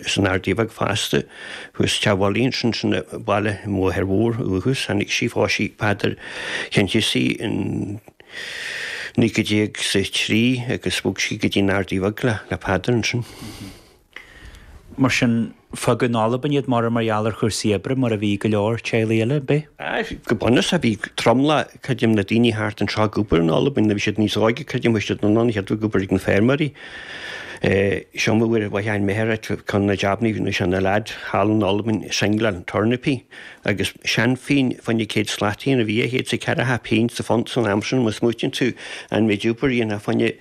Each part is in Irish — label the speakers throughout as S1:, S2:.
S1: san Ardaidh Bheag fosta, thuas Teach Mholly ansin, sin an baile i mBóthar Mhór uathu, tháinig sí, phós sí Peadar Chinnsealaigh in 1903 agus bhog sí go dtí an Ardaidh Bheag le Peadar ansin.
S2: Mar sin, fágadh in Albain iad mar mar gheall ar chúrsaí oibre, mar a bhí go leor teaghlaigh eile, ab é?
S1: Aye, go bunúsach bhí tromlach, creidim, na daoine thart anseo ag obair in Albain, nuair a bhí siad níos óige, creidim, bhí siad anonn chéad ag obair ag na feirmeoirí. Seo mo uair a bhain m'athair ceann de na jabannaí nuair a bhí sé ina leaid thall in Albain, singleáil tornapaí agus seanphingin fá choinne 100 slataí a bhí a chéad 's a ceathracha pingin sa phunt san am sin, má smaoitíonn tú an méid obair a dhéanfá fá choinne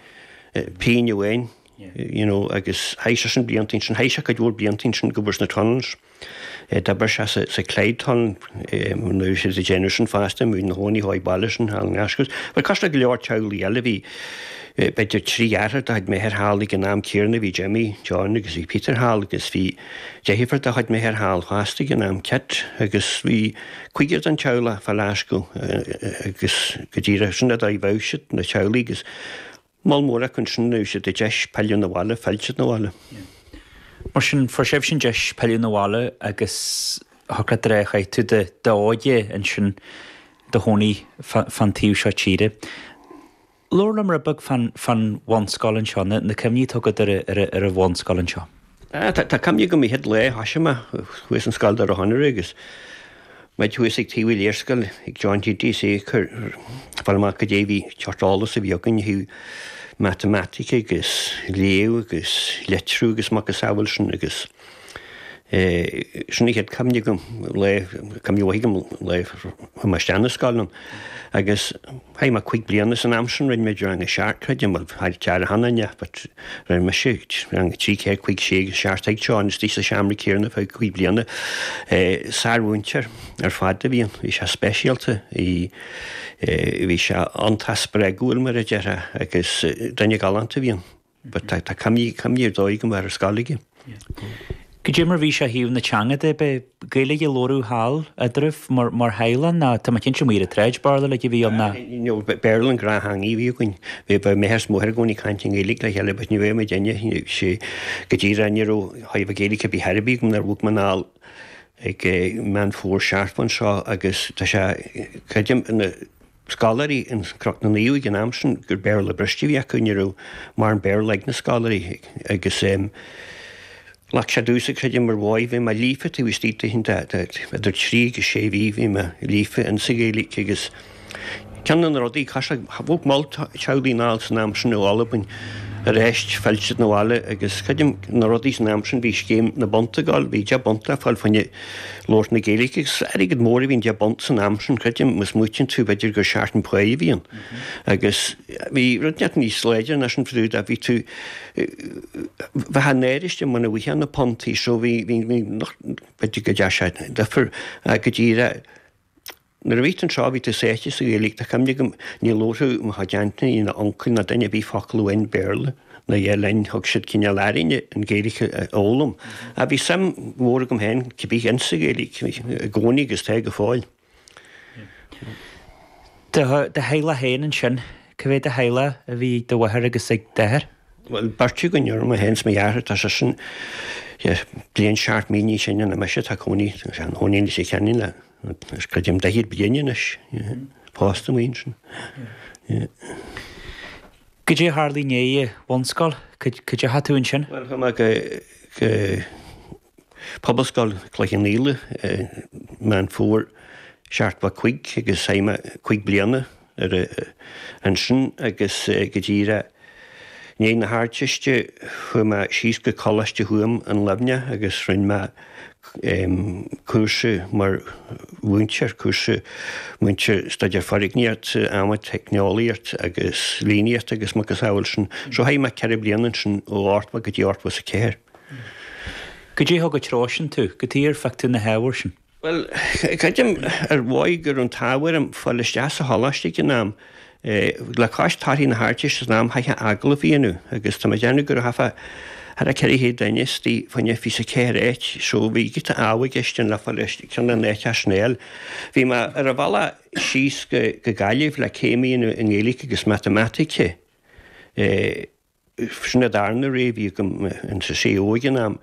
S1: pingin amháin. you know agus chaith seisean blianta ansin, chaith sé cuid mhór blianta ansin ag obair sna tunnels. D'oibir sé sa, sa Clyde Tunnel nuair a bhí siad ag déanamh sin fosta, bhí ina chónaí chomh baile sin thall i nGlaschú. But cosúil le go leor teaghlaigh eile bhí b'fhéidir trí dheartháir de chuid m'athar thall ag an am céanna, bhí Jimmy, John agus bhí Peter thall agus bhí deirfiúr de chuid m'athar thall fosta ag an am, Kit, agus bhí cúigear den teaghlach fá Ghlaschú agus go díreach sin an dóigh a bheadh siad, na teaghlaigh agus Moll mór acu ansin nuair a bhí siad ag deis pilleadh 'na bhaile, phill siad 'na bhaile.
S2: Mar sin, fuair sibhse an deis pilleadh 'na bhaile agus thiocfadh leat a rá chaith tú d'óige ansin do chónaí fán taobh seo tíre. Labhair liom rud beag fán bhunscoil anseo, na cuimhní atá agat ar an bhunscoil anseo.
S1: Tá cuimhne agam an chéad lá a thoisigh mé thuas in Scoil Doire Chonaire agus muid thuas ag taobh an léarscáil ag John T.D. is é ag cur fáil amach cad é bhí seort eolas a bhí againn ó thaobh matamaitice agus léamh agus litriú agus macasamhail sin agus sin an chéad cuimhne agam lá cuimhne mhaith agam lá a chuaigh mé isteach na scoile ann agus Chaith mé cuig bliana san am sin, rinne muid rang a seacht, creidim, bhuel, chaith Dara cheana inné, but rinne mise rang a trí, ceathair, cuig, sé agus seacht ag Seán istigh sa seomra céanna feadh cuig bliana. Sármhúinteoir ar fad a bhí ann, bhí sé speisialta, bhí bhí sé iontach spreagúil mar a déarfá agus duine galánta a bhí ann. But tá tá cuimhní cuimhní ar dóigh agam ar an scoil aige.
S2: Cad é mar bhí sé ó thaobh na teanga de, b'é Gaeilge a labhradh thall eadraibh mar mar theaghlach ná tá mé cinnte amuigh ar an tsráid Béarla like a bhí ann ná.
S1: You know Béarla an gnáth-theangaidh a bhí againn. Bhí bheadh m'athair is mo mháthair i gcónaí ag caint i nGaeilge le chéile but ní bheadh muid inne sé go díreach ní raibh chóir a bheith Gaeilge ar bith ar bith agam nuair a bhog mé anall ag Meán Fómhair 70 anseo agus tá sé creidim ina scoláirí in Cnoc na Naomh ag an am sin gur Béarla briste a bhí acu, ní raibh mórán Béarla ag na scoláirí agus ghlac sé domhsa, creidim, mar bhoy, bhí mé líofa taobh istigh de idir trí agus sé mhí, bhí mé líofa insa Ghaeilge agus ceann de na rudaí, bhog moll teaghlaigh anall san am sin ó Albain aréist, phill siad 'na bhaile agus creidim na rudaí san am sin, bhí scéim na bpunt ag dul, bhí deich bpunt le fáil fá choinne labhairt na Gaeilge agus airgead mór a bhí in deich bpunt san am sin, creidim, má smaoitíonn tú, b'fhéidir gur seachtain páí a bhí ann. Agus bhí rud inteacht níos láidre ná sin fadú bhí tú, bheifeá náiriste muna bhfaighfeá na puntaí so bhí, bhí, bhí, b'fhéidir go dtearn sé difear go díreach. Nuair a bhí tú anseo bhí tú sáite sa Ghaeilge, tá cuimhne agam ní labharfadh mo chuid aintíní ná uncail ná duine ar bith focal amháin Béarla ná a dhath linn, thug siad cineál orainne an Ghaeilge a fhoghlaim. Ach bhí suim mhór agam féin cibé insa Ghaeilge i gcónaí agus tá go fóill.
S2: Do theaghlach féin ansin, cá mhéad de theaghlach a bhí ag do mháthair agus ag d'athair?
S1: Bhuel, beirt againn, mé féin is mo dheartháir, tá seisean bliain seacht mí níos sine ná mise, tá cónaí, tá sé ina chónaí i Leitir Ceanainn le Is creidim 40 bliain anois, pósta amuigh ansin.
S2: Cad é a tharla i ndiaidh an bhunscoil? Cad é a chaith tú ansin?
S1: Bhuel, chuaigh mé go Pobalscoil Chloich Cheann Fhaola i Meán Fómhair 75 agus chaith mé cuig bliana ar ansin agus go díreach i ndiaidh na hArdteiste chuaigh mé síos go Coláiste Thuaim in Luimneach agus rinne mé cúrsa mar mhúinteoir, cúrsa múinteoir staidéar foirgníochta, adhmaid, teicneolaíocht agus líníocht agus macasamhail sin. So chaith mé 4 bliana ansin ó 80 go dtí 84.
S2: Cad é a thug an treo sin tú? Cad chuige ar phioc tú na hábhair sin?
S1: Bhuel, creidim ar dhóigh go raibh an t-ádh orm fáil isteach sa choláiste ag an am. Le cois torthaí na hArdteiste san am chaithfeá agallamh a dhéanamh agus tá mé ag déanamh go raibh thart ar 400 duine istigh fá choinne 24 áit so bhí giota ádh i gceist ann le fáil isteach ceann de na háiteacha sin a fháil. Bhí mé ar an bhealach síos go Gaillimh le céim a dhéanamh i nGaeilge agus Matamaitice. Sin an darna rogha a bhí agam in sa CAO ag an am.